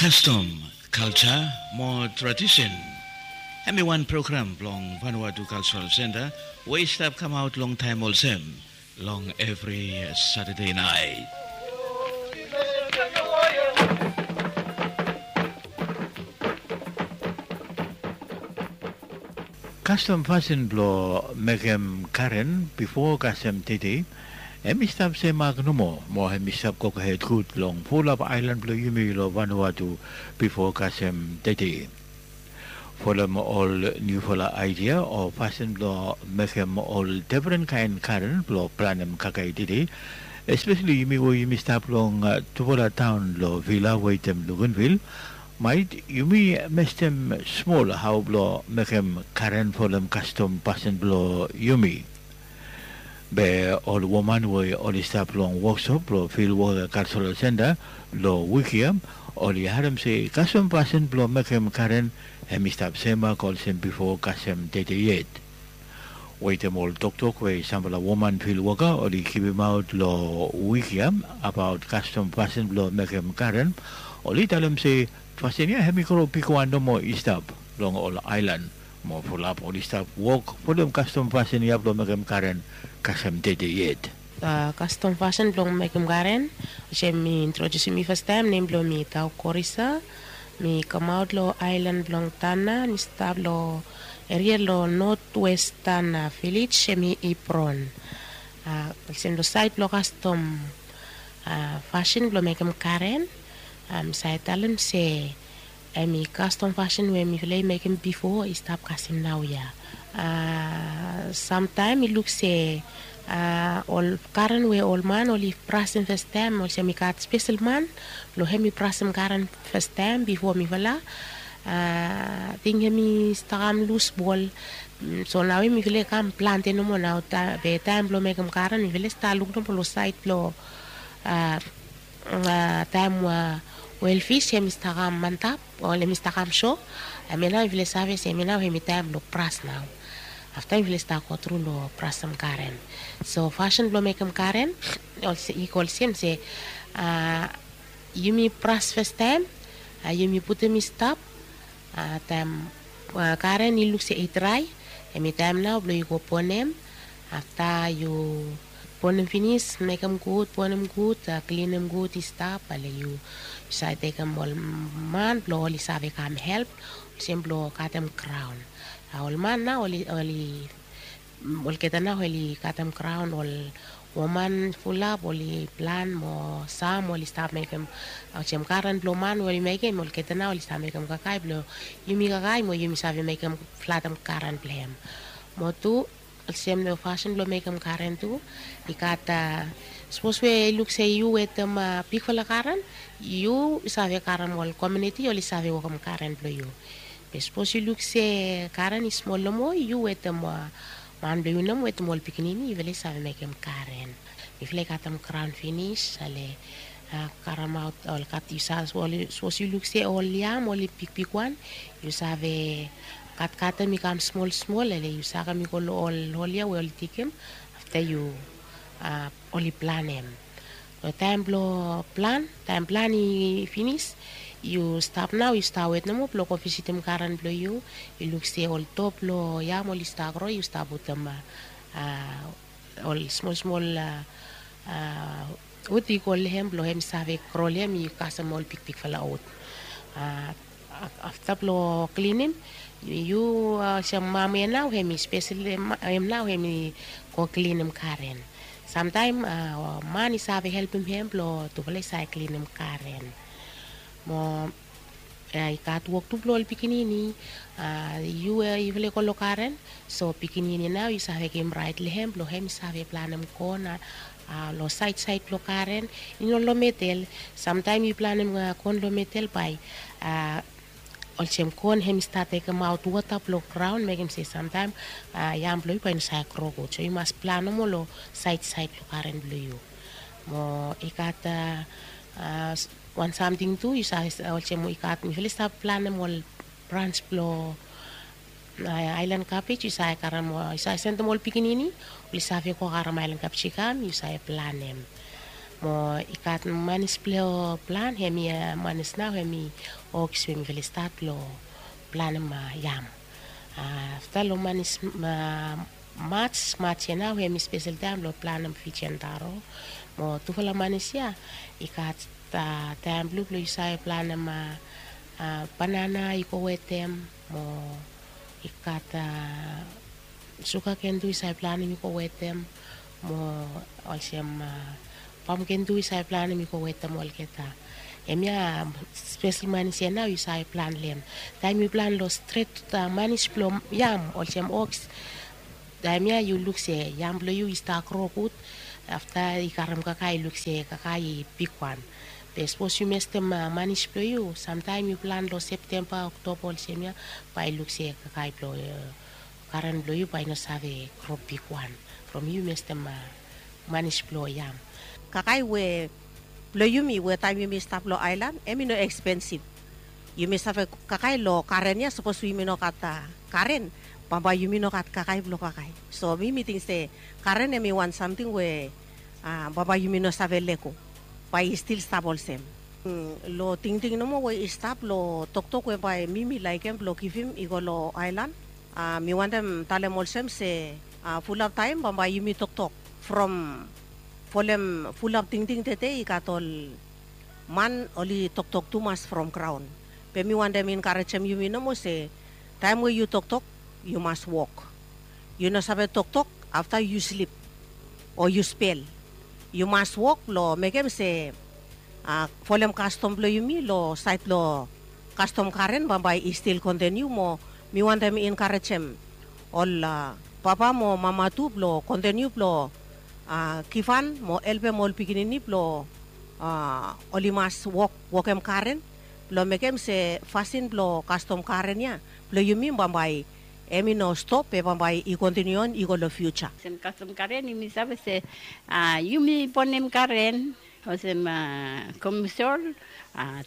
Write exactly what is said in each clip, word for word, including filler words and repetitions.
Kastom, kalja mo tradisen. Hem i wan program blong Vanuatu Cultural Center we i stap kamaot long taem olsem long evri Satade naet. Kastom fasin blong mekem karen bifo kasem tede, hem i stap semak nomo mo hem i stap gogohed gud long fulap aelan blong yumi long Vanuatu bifo kasem tede. Folem ol niufala aedia o fasin blong mekem ol defren kaen karen blong planem kakae tede, espeseli yumi we yumi stap long tufala taon long Vila wetem Luganvil, maet yumi mestem smol hao blong mekem karen folem kastom fasin blong yumi. Be ol woman we oli stap long woksop blong Fil Woka Kalsarol Senta long wik ya, oli harem se kastom fasin blong mekem karen hem i stap semak olsem bifo kasem tede yet. Wetem ol toktok we samfala woman fil woka oli givimaot long wik ya abaot kastom fasin blong mekem karen, oli talem se fasin ya hem i gro bigwan nomo i stap long ol aelan, mo fulap oli stap wok folem kastom fasin ya blong mekem karen kasem tede yet. Kastom fasin blong mekem karen, olsem mi introdiusim mi fastaem, nem blong mi Tau Korisa. Mi kamaot long aelan blong Tana, mi stap long eria long notwestan vilej, hem i Ipron. Olsem long saed blong kastom fasin blong mekem karen, mi save talem se hem i kastom fasin we mifala i mekem bifo i stap kasem naoia. Samtaem i luk se ol karen we ol man oli brasem fastaem, olsem i gat spesel man blong hem i brasem karen fastaem bifo mifala. Ating hem i stap kam lus bol. So naoia mifala i kam plante nomo nao, be taem blong mekem karen mifala i stap luk nomo long saed blong taem we oel fis hem i stap kam antap, ol hem i stap kam so. Hemia nao mifala i save se hemia nao hem i taem blong bras nao. Afta mifala i stap gotru long brasem karen. So fasin blong mekem karen i go olsem se yumi bras fastaem, yumi putum i stap. Taem karen i luk se i drae, hem i taem nao blong yu go bonem. Afta yu bonem finis, mekem gud, bonem gud, klinem gud i stap, ale yu save tekem ol man blong oli save kam help olsem blong katem graon. Ol man nao oli, oli olgeta nao oli katem graon, ol woman fulap oli plan mo sam oli stap mekem olsem karen blong man we oli mekem, olgeta nao oli stap mekem kakae blong yumi kakae mo yumi save mekem flatem karen blong hem. Mo tu olsem long fasin blong mekem karen tu i gat, sapos we i luk se yu wetem bigfala karen, yu save karem ol komuniti oli save wokem karen blong yu. Be sapos yu luk se karen i smol nomo, yu wetem man blong yu nomo wetem ol pikinini yufala i save mekem karen. Mifala i katem graon finis, ale karemaot ol kat yu save, sapos yu luk se ol yam oli bigbigwan, yu save katkatem i kam smolsmol, ale yu sakem i go long ol hol ya we oli digim. Afta yu oli planem. Long taem blong plan, taem plan i finis, yu stap nao, yu stap wet nomo blong go visitim karen blong yu. Yu luk se ol top blong yam oli stap gro, yu stap putum ol smolsmol wud i go long hem blong hem i save gro long hem i kasem ol bigbigfala wud. Afta blong klinim, yu olsem mam ya nao hem i spesel, hem nao hem i go klinim karen. Samtaem man i save helpem hem blong tufala i save klinim karen. Mo i gat wok tu blong ol pikinini. Yu we yufala i go long karen, so pikinini nao yu save givim raet long hem blong hem i save planem kon long saedsaed blong karen, i no long medel. Samtaem yu planem kon long medel bae olsem kon hem i stat tekemaot wota blong graon, mekem se samtaem yam blong yu bae i no save gro gud. So yu mas plan nomo long saedsaed blong karen blong yu. Mo i gat wan samting tu, yu save olsem i gat, mifala i stap planem ol brans blong aelan kabej, yu save karem, yu save sendem ol pikinini oli save go karem aelan kabej i kam, yu save planem. Mo i gat manis blong plan, hemi manis nao hemi oks we mifala i stat blong planim yam. Afta long manis mats mats ya nao hemi spesel taem blong planim fijian taro. Mo tufala manis ya i gat taem blong blong yu save planim banana i go wetem, mo i gat suga ken tu yu save planim i go wetem, mo olsem pam ken tu yu save planim i go wetem olgeta. Hemia spesel manis ya nao yu save plan long hem. Taem yu plan long stret manis blong yam olsem oks, taem ya yu luk se yam blong yu i stap gro gud. Afta i karim kakae, yu luk se kakae i bigwan. Be sapos yu mestem manis blong yu, samtaem yu plan long septemba, oktoba olsem ya, bae yu luk se kakae blong karen blong yu bae i no save gro bigwan from yu mestem manis blong yam. Kakae we blong yumi we taem yumi stap long aelan, hemi no ekspensif. Yumi save kakae long karen ya. Sapos yumi no gat karen, bambae yumi no gat kakae blong kakae. So mi mi ting se karen hemi wan samting we bambae yumi no save lego, bae i stil stap olsem. Long tingting nomo we i stap long toktok we bae mi mi laekem blong givim i go long aelan, mi wantem talem olsem se fulap taem bambae yumi toktok from folem fulap tingting tede i gat ol man oli toktok tumas from graon. Be mi wantem enkarejem yumi nomo se taem we yu toktok, yu mas wok. Yu no save toktok afta yu slip o yu spel. Yu mas wok blong mekem se folem kastom blong yumi long saed blong kastom karen bambae i stil kontiniu. Mo mi wantem enkarejem ol papa mo mama tu blong kontiniu blong givhan mo helpem ol pikinini blong oli mas wok wokem karen blong mekem se fasin blong kastom karen ya blong yumi bambae hemi no stop, be bambae i kontiniu on i go long fiuja. Olsem kastom karen yumi save se yumi bonem karen olsem komsol,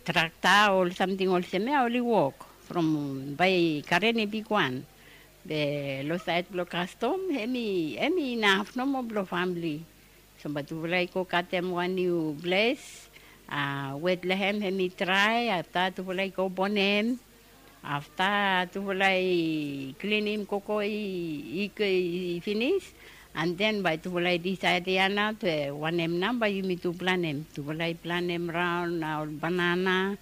trakta, ol samting olsem ya oli wok from bae karen i bigwan. Be long saed blong kastom hemi inaf nomo blong famle. So bae tufala i go katem wan niu ples, wet long hem hemi drae, afta tufala i go bonem. Afta tufala i klinim koko i finis, an den bae tufala i disaed ya nao se wanem nao bae yumi tu planem. Tufala i planem raon ol banana,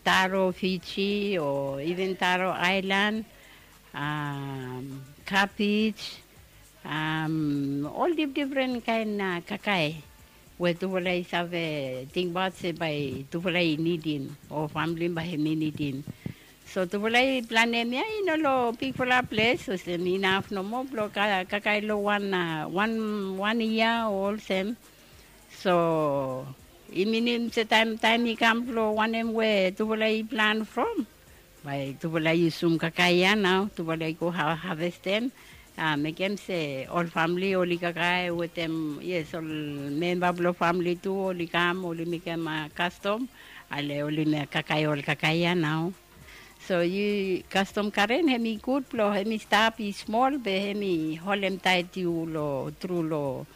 taro Fiji o iven taro aelan, kabej, ol difdifren kaen kakae we tufala i save tingbaot se bae tufala i nidim o famle bae hemi nidim. So tufala i planem ya i no long bigfala ples, olsem inaf nomo blong kakae long wan wan wan yia o olsem. So i minim se taem taem i kam blong wanem we tufala i plan from, bae tufala i yusum kakae ya nao, tufala i go havestem, mekem se ol famle oli kakae wetem, yes, ol memba blong famle tu oli kam oli mekem kastom, ale oli kakae ol kakae ya nao. So yu kastom karen hemi gud blong hemi stap i smol be hemi holem taet yu long tru long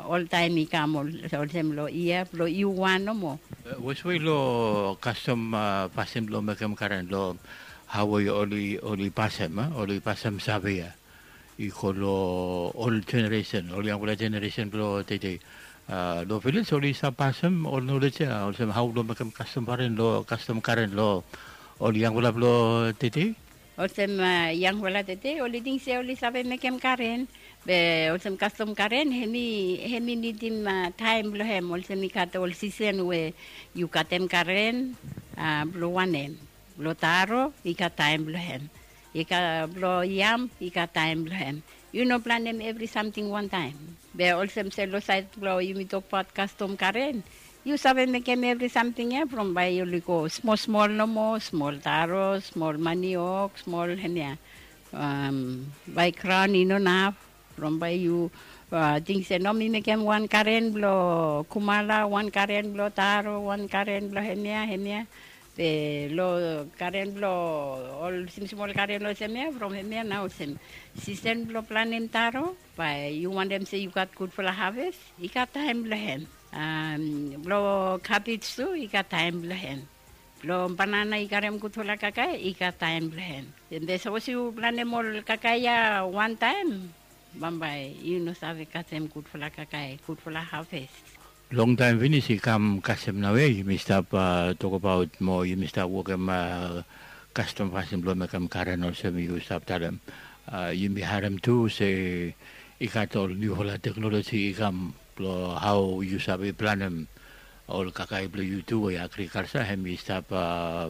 oltaem i kam olsem long yia blong yu wan nomo. Weswe long kastom pasin blong mekem karen long hao we oli pasem, oli pasem save ya i go long ol jeneresen, ol yangfala jeneresen blong tede. Long vilej oli save pasem ol nolej ya olsem hao blong mekem kastom karen long kastom karen long ol yangfala blong tede. Olsem yangfala tede oli ting se oli save mekem karen, be olsem kastom karen hemi nidim taem blong hem. Olsem i gat ol sisen we yu katem karen blong wanem. Blong taro i gat taem blong hem. I gat blong yam i gat taem blong hem. Yu no planem evri samting wantaem. Be olsem se long saed blong yumi tokbaot kastom karen, yu save mekem evri samting ya from bae oli go smol smol nomo, smol taro, smol maniok, smol hemia, bae graon i no naf. From bae yu ting se no mi mekem wan karen blong kumala, wan karen blong taro, wan karen blong hemia hemia. Be long karen blong ol simsmol karen olsem ya, from hemia nao olsem sisen blong planem taro. Bae yu wantem se yu gat gudfala haves, i gat taem blong hem. Blong kabej tu i gat taem blong hem. Blong banana i karem gudfala kakae i gat taem blong hem. Be sapos yu planem ol kakae ya wantaem, bambae yu no save kasem gudfala kakae, gudfala haves. Longtaem finis i kam kasem nao ya yumi stap tokbaot mo yumi stap wokem kastom fasin blong mekem karen olsem yu stap talem. Yumi harem tu se i gat ol niufala teknoloji i kam blong hao yu save planem ol kakae blong yu tu we agrikalsa hem i stap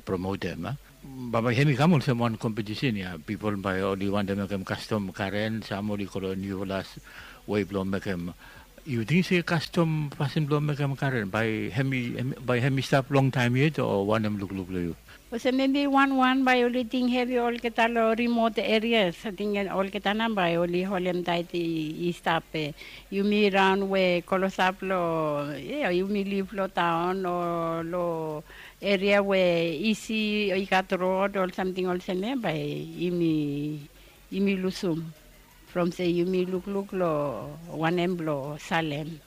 promotem. Bambae hem i kam olsem wan kompetisen ya, pipol bae oli wantem mekem kastom karen, sam oli go long niufala wei blong mekem. Yu ting se kastom fasin blong mekem karen bae hem i stap longtaem yet o wanem lukluk blong yu? Olsem mebi wanwan bae oli ting hevi olgeta long rimot erias, ating olgeta nao bae oli holem taet i stap. Yumi raon we klosap long yumi liv long taon o long eria we isi i gat rod o samting olsem ya bae yumi lusum from se yumi lukluk long wanem blong salem.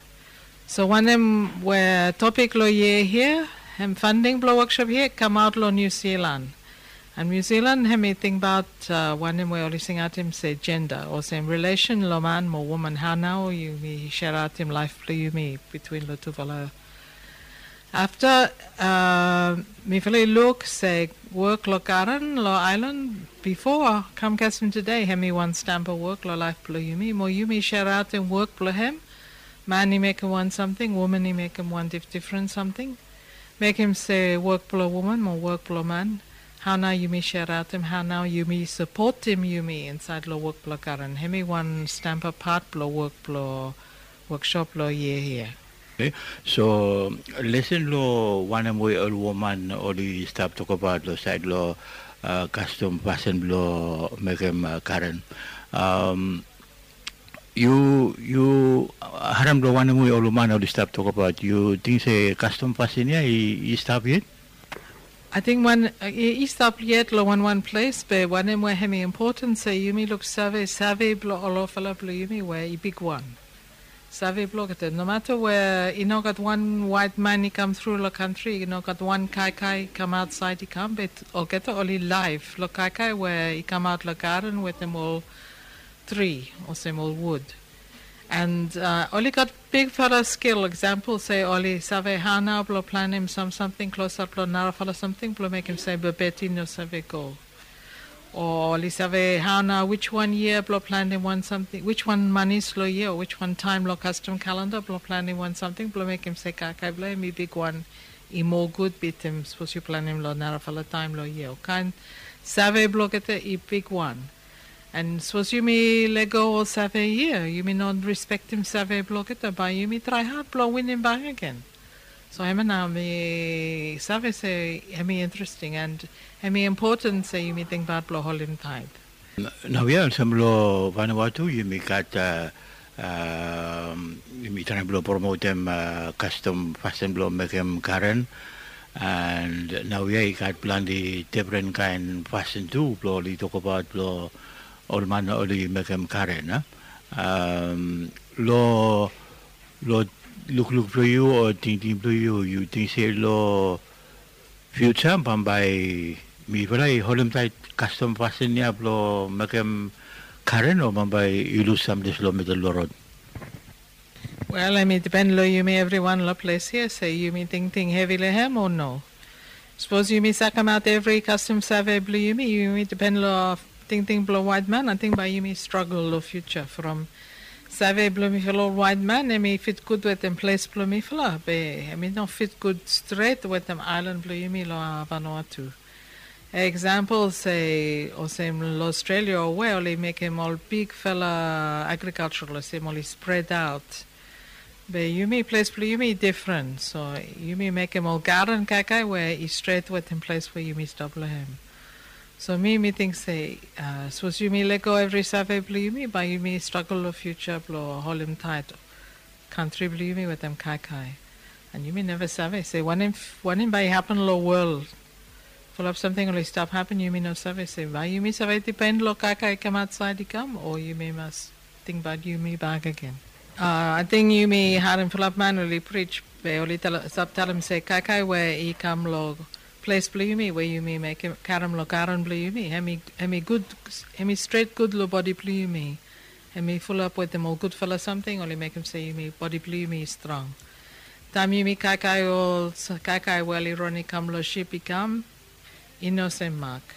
So wanem we topik long yia hia, hem fanding blong woksop hia i kamaot long Niu Silan. An Niu Silan hem i tingbaot wanem we oli singaotem se jenda olsem rilesen long man mo woman, hao nao yumi seraotem laef blong yumi bitwin long tufala. Afta mifala i luk se wok long garen long aelan bifo kam kasem tede hem i wan stamba wok long laef blong yumi mo yumi seraotem wok blong hem. Man i mekem wan samting, woman i mekem wan difdifren samting. Mekem se wok blong woman mo wok blong man, hao nao yumi seraotem, hao nao yumi sapotem yumi insaed long wok blong garen, hem i wan stamba pat blong wok blong woksop long yia hia. So lesen long wanem we ol woman oli stap tokbaot long saed long kastom fasin blong mekem karen. Yu yu harem long wanem we ol woman oli stap tokbaot, yu ting se kastom fasin ya i stap yet? Ating wan i stap yet long wanwan ples, be wanem we hem i impoten se yumi luksave save blong olfala blong yumi we i bigwan. Save blong olgeta, nomata we i no gat wan waet man i kam tru long kantri, i no gat wan kaikai i kam aotsaed i kam, be olgeta oli laef long kaikai we i kamaot long garen wetem ol tri olsem ol wud. And oli gat bigfala skil, eksampol se oli save hao nao blong planem sam samting klosap long narafala samting blong mekem se bebet i no save go. O oli save hao nao wijwan yia blong planem wan samting, wijwan manis long yia, o wijwan taem long kastom kalenda blong planem wan samting blong mekem se kaikai blong hem i bigwan i moa gud bitim sapos yu planem long narafala taem long yia. O kaen save blong olgeta i bigwan. And sapos yumi lego ol save hia, yumi no rispektem save blong olgeta, bae yumi trae had blong winim bak agen. So hemia nao mi save se hemi interesting and hemi impoten se yumi tingbaot blong holim taet. Naoia olsem long Vanuatu yumi gat, yumi traem blong promotem kastom fasin blong mekem garen. And naoia i gat plante defren kaen fasin tu blong oli tokbaot blong ol man oli mekem garen. Long lukluk blong yu o tingting blong yu, yu ting se long fiuja bambae mifala i holimtaet kastom fasin ya blong mekem garen o bambae i lus samples long midel blong rod? Wel, hemi dipen long yumi evriwan long ples hia se yumi tingting hevi long hem o no. Sapos yumi sakemaot evri kastom save blong yumi, yumi dipen long tingting blong waetman, ating bae yumi stragol long fiuja from save blong mifala ol waetman hemi fit gud wetem ples blong mifala, be hemi no fit gud stret wetem aelan blong yumi long Vanuatu. Eksampol se olsem long Ostrelia o we oli mekem ol bigfala agrikalja olsem oli spredaot. Be yumi ples blong yumi i difren, so yumi mekem ol garen kaikai we i stret wetem ples we yumi stap long hem. So mi mi ting se sapos yumi lego evri save blong yumi bae yumi stragol long fiuja blong holimtaet kantri blong yumi wetem kaikai. And yumi neva save se wanem wanem bae i hapen long wol. Fulap samting oli stap hapen, yumi no save se bae yumi save dipen long kaikai i kam aotsaed i kam o yumi mas Tingbaot yumi bak agen. Ating yumi harim fulap man oli prij be oli stap talem se kaikai we i kam long ples blong yumi we yumi mekem karem long garen blong yumi, hem i gud, hem i stret gud long bodi blong yumi. Hem i fulap wetem ol gudfala samting oli mekem se yumi bodi blong yumi i strong. Taem yumi kaikai ol kaikai we oli ron i kam long sip i kam, i no sem mak.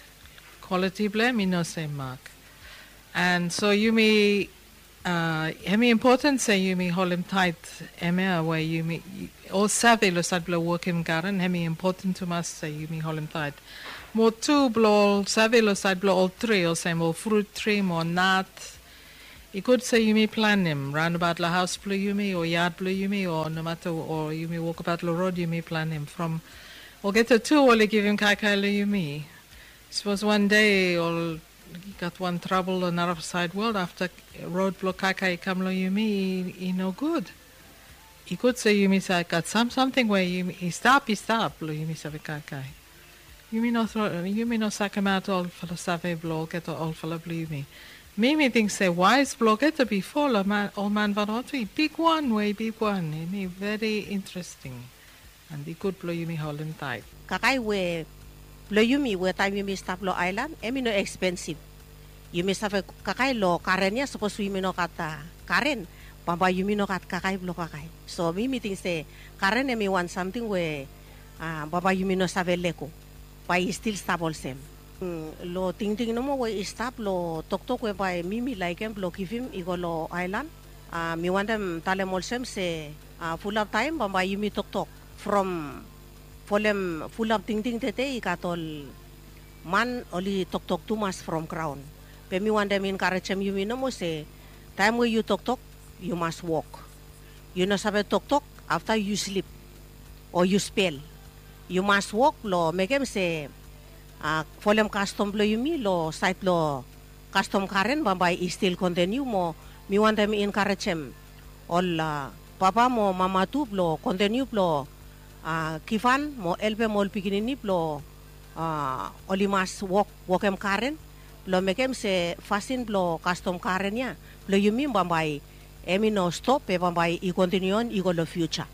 Kwaliti blong hem i no sem mak. And so yumi, uh, hem i impoten se yumi holem tait. Hem ya we yumi ol save long sait blong wokem garen, hem i impoten tumas se yumi holem tait. Mo tu blong ol save long sait blong ol tri, olsem ol frut tri mo nat, i gud se yumi planem raonabaot long haos blong yumi o yad blong yumi o nomata o yumi wokabaot long rod yumi planem from olgeta tu oli givim kaikai long yumi. Sapos wan dei ol i gat wan trabol long narafala saed wol afta rod blong kaikai i kam long yumi, i no gud. I gud se yumi save gat sam samting we yumi i stap i stap blong yumi save kaikai. Yumi no tro yumi no sakemaot olfala save blong olgeta olfala blong yumi. Mi mi ting se waes blong olgeta bifo long ol man Vanuatu i bigwan we i bigwan, hem i veri interesting. And i gud blong yumi holem taet. Kaikai we blong yumi we taem yumi stap long aelan hem i no ekspensif. Yumi save kaikai long garen ya sapos we yumi no gat garen, bambae yumi no gat kaikai blong kaikai. So mi mi ting se garen hem i wan samting we bambae yumi no save lego, bae i stil stap olsem. Long tingting nomo we i stap long toktok we bae mi mi laekem blong givim i go long aelan, mi wantem talem olsem se fulap taem bambae yumi toktok from folem fulap tingting tede i gat ol man oli toktok tumas from graon. Be mi wantem enkarejem yumi nomo se taem we yu toktok, yu mas wok. Yu no save toktok afta yu slip o yu spel. Yu mas wok blong mekem se folem kastom blong yumi long saed blong kastom garen bambae i stil kontiniu mo mi wantem enkarejem ol papa mo mama tu blong kontiniu blong givhan mo helpem ol pikinini blong oli mas wok wokem garen blong mekem se fasin blong kastom garen ya blong yumi bambae hem i no stop be bambae i kontiniu on i go long fiuja.